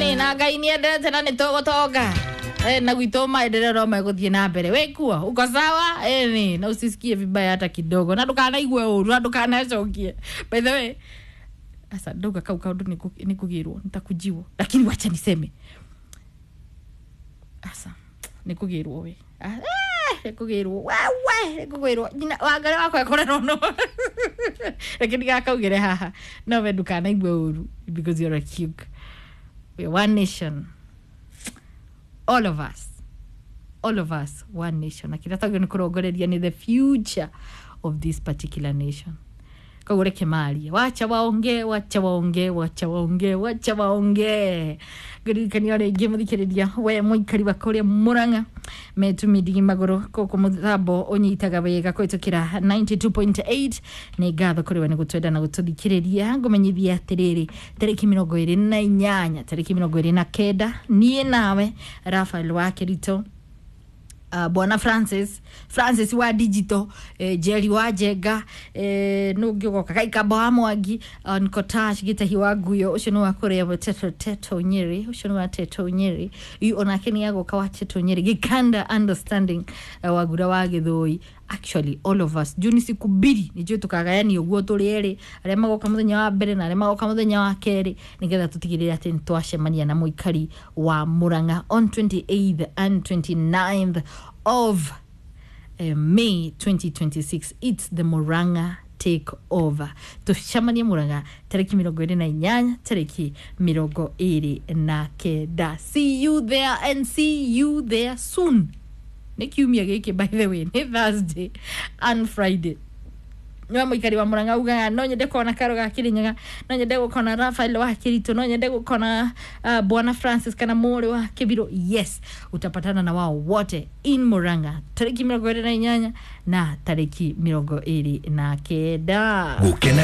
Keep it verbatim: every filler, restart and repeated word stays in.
Ĩni na Ngai nĩ endete na nĩ tũgũtonga. Eh, na gwitũ maendeleo no megũthiĩ na mbere. Wĩ kuo uko sawa? Ĩni na usisikie vibaya hata kidogo, na ndũkanaigue ũru na ndũkanacokie. By the way, asa ndauga kau kaũndũ nĩ kũgĩrwo nitakujiwo, lakini wacha niseme asa nĩ kũgĩrwo we. Ah, eh, nĩ kũgĩrwo wewe, nĩ kũgĩrwo nyina wangari wakwa ekorerwo no reke ndigakaugĩre haha, no we ndũkanaigue ũru because you're a cute. We're one nation, all of us, all of us, one nation. Na kĩrĩa twagĩrĩirwo nĩ kũrongoreria nĩ the future of this particular nation. Koguo reke marie, wacha waongee, wacha waongee, wacha waongee, wacha waongee. Ngũririkania rĩngĩ mũthikĩrĩria, we mũikari wa kũrĩa Mũrang'a metumindigi magũrũ kũkũ mũthambo ũnyitaga wega kũhĩtũkĩra ninety-two point eight, nĩ ngatho kũrĩ we nĩ gũtwenda na gũtũthikĩrĩria. Ngũmenyithia atĩrĩrĩ, tarĩki mĩrongo ĩrĩ na inyanya, tarĩki mĩrongo ĩrĩ na kenda, niĩ nawe Rafael wa Kĩrito, uh, bwana Francis, Francis wa digital, eh, Jerry wa Njenga, eh, nũngĩ ũgoka Kaikamba wa Mwangi, Nkotash Gĩtahi wa Nguyo, ũcio nĩ wa kũrĩa Teto, Teto Nyeri, ũcio nĩ wa Teto Nyeri. Yu onake nĩ agoka wa Teto Nyeri, Gĩkanda Understanding, uh, Wagura wa Gĩthũi. Actually all of us, juu ni siku mbiri, nĩnjũĩ tũkagayania ũguo tũrĩ erĩ, arĩa magoka mũthenya wa mbere na arĩa magoka mũthenya wa kerĩ, nĩgetha tũtigĩrĩre atĩ nĩ twacemania na mũikari wa Mũrang'a on twenty-eighth and twenty-ninth of uh, May twenty twenty-six. It's the Murang'a take over. Tucemanie Murang'a tarĩki mĩrongo ĩrĩ na inyanya, tarĩki mĩrongo ĩrĩ na kenda. See you there and see you there soon. Nĩ kiumia gĩkĩ, by the way, nĩ Thursday and Friday. Niwe mũikari wa Mũrang'a ugaga no nyende kuona Karo ga Kĩrĩnyaga, no nyende gũkona Rafael wa Kĩritũ, no nyende gũkona uh, bwana Francis kana mũrĩ wa Kĩbiro, yes, utapatana na wao wote in Murang'a tarĩki mĩrongo ĩrĩ na inyanya na tarĩki mĩrongo ĩrĩ na kenda. Gũkena.